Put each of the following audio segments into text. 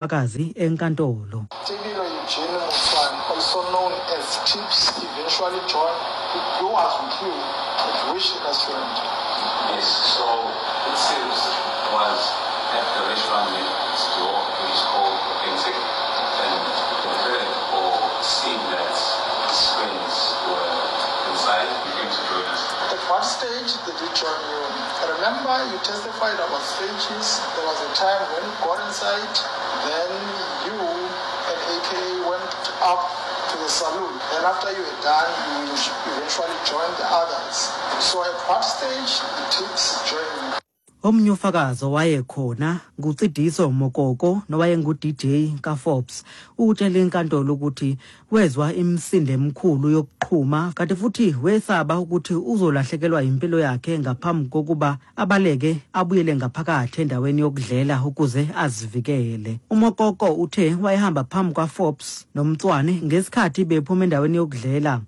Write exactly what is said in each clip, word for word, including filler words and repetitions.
Ubufakazi enkantolo. Tebello Eugene Motsoane, also known as Tips, eventually joined, who was with you at which restaurant? Yes, so it seems was at the restaurant next door, which is called Authentic, and heard or seen that his friends were inside. He came to join us. At what stage did he join you? Remember, you testified about stages. There was a time when you got inside, then you and A K went up to the saloon. Then after you were done, you eventually joined the others. So at what stage did Tips join you? Omnye ufakazi owayekhona nguTsidiso Mokoko nowayengu-D J kaForbes. Utshele inkantolo ukuthi wezwa imisindo emikhulu yokuqhuma kanti futhi wesaba ukuthi uzolahlekelwa impilo yakhe ngaphambi kokuba abaleke abuyele ngaphakathi endaweni yokudlela ukuze azivikele. UMokoko uthe wayehamba phambi kwaForbes noMotsoane ngesikhathi bephuma endaweni yokudlela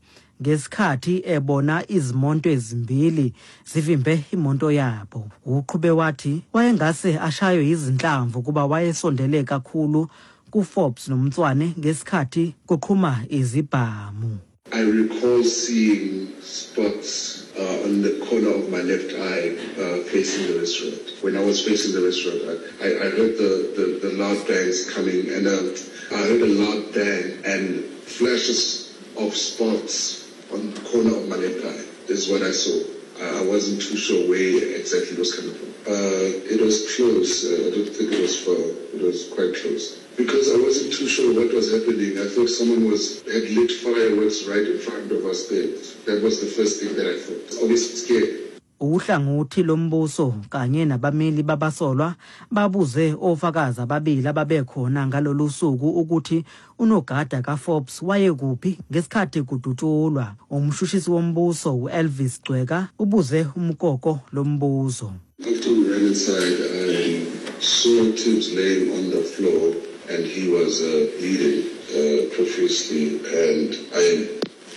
ngesikhathi ebona izimoto ezimbili zivimbe imoto yabo. Uqhube wathi wayengase ashaywe izinhlamvu kuba wayesondele kakhulu kuForbes noMotsoane ngesikhathi kuqhuma izibhamu. I recall seeing spots uh, on the corner of my left eye uh, facing the restaurant. When I was facing the restaurant, I, I, I heard the, the, the loud bangs coming, and uh, I heard a loud bang and flashes of spots on the corner of my left eye. This is what I saw. I I wasn't too sure where exactly it was coming from. Uh, it was close. Uh, I don't think it was far. It was quite close. Because I wasn't too sure what was happening. I thought someone was had lit fireworks right in front of us there. That was the first thing that I thought. Obviously scared. Uhlangothi lombuso kanye nabameli babasolwa babuze ofakazi ababili ababekhona ngalolu suku ukuthi unogada kaForbes wayekuphi ngesikhathi kudutshulwa. Umshushisi wombuso uElvis Gcweka ubuze uMokoko lombuzo. After we ran inside, I saw Tibbs laying on the floor and he was uh, bleeding uh, profusely, and I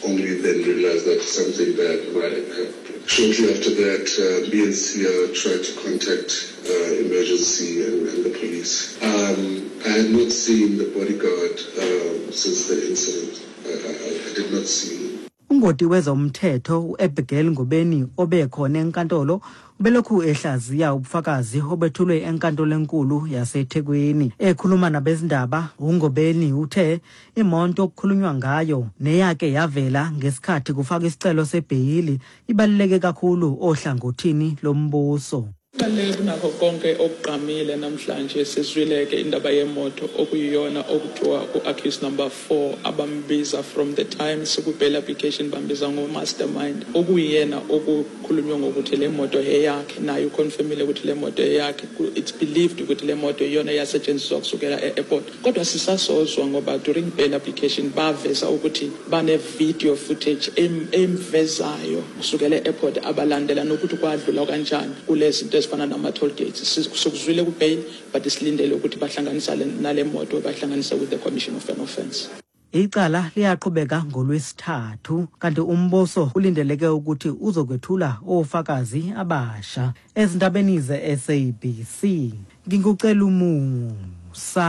only then realized that something bad might have happened. Shortly after that, uh, me and Sia tried to contact uh, emergency and, and the police. Um, I had not seen the bodyguard uh, since the incident. I, I, I did not see him. Ungoti wezomthetho uAbigail Ngobeni obekhona enkantolo ubelokhu ehlaziya ubufakazi obethulwe enkantolo enkulu yaseThekwini. Ekhuluma nabezindaba, uNgobeni uthe imoto okukhulunywa ngayo neyake yavela ngesikhathi kufaka isicelo sebheyili ibaluleke kakhulu ohlangothini lombuso. Kubaluleke kunakho konke okugqamile namhlanje, sizwile-ke indaba yemoto okuyiyona okuthiwa u-accused number four abambiza from the time siku-bail application bambiza ngo-mastermind, okuyiyena okukhulunywe ngokuthi le moto eyakhe, naye uconfirmile ukuthi le moto eyakhe. It's believed ukuthi le moto iyona eyasetshenziswa kusukela e-airport, kodwa sisasozwa ngoba during bail application baveza ukuthi bane-video footage emvezayo kusukela e-airport abalandela nokuthi kwadlula kanjani kulezi zinto ezifana nama-toll gates. Sikuzwile ku-bail, but silindele ukuthi bahlanganisa nale moto, bahlanganisa with the commission of an offence. Icala liyaqhubeka ngolwesithathu kanti umbuso ulindeleke ukuthi uzokwethula ofakazi abasha. Ezindabeni ze-S A B C, ngingucela umusa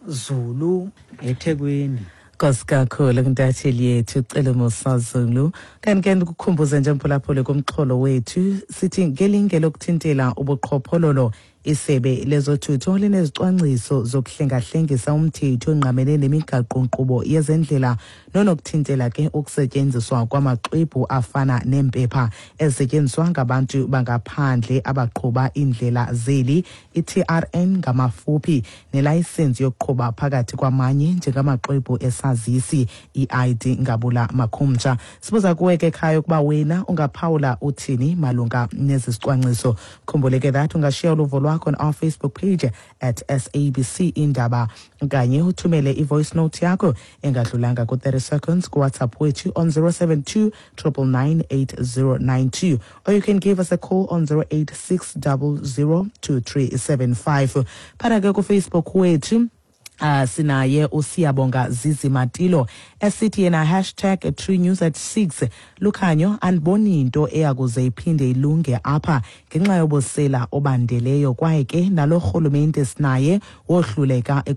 Zulu eThekwini. Nkosi kakhulu kuntatheli yethu uCele Musa Zulu. Kanti ke ndikukhumbuze nje, mphulaphuli, kumxholo wethu sithi ngelinge lokuthintela ubuqhophololo, isebe lezothutho linezicwangciso zokuhlengahlengisa umthetho ongqamene nemigaqo-nkqubo yezendlela nonokuthintela ke ukusetyenziswa kwamaxwebhu afana neempepha ezisetyenziswa ngabantu bangaphandle abaqhuba iindlela zeli, i-T R N ngamafuphi, nelayisensi yokuqhuba phakathi kwamanye njengamaxwebhu esazisi, i-I D ngabula makhumtsha. Sibuza kuwe ke ekhaya ukuba wena ungaphawula uthini malunga nezi zicwangciso. Khumbule ke that ungashiya uluvo lwakho on our Facebook page at S A B C Indaba kanye uthumele i-voice note yakho engadlulanga ku-thirty seconds kuWhatsApp wethu on zero seven two nine nine nine eight zero nine two, or you can give us a call on zero eight six zero zero two three seven five. Phara ke kuFacebook wethu. Uh, sinaye uSiyabonga Zizi Matilo esithi yena hashtag true news at six. Lukhanyo, andiboni into eyakuze iphinde ilunge apha ngenxa yobusela obandeleyo, kwaye ke nalo rhulumente sinaye wohluleka.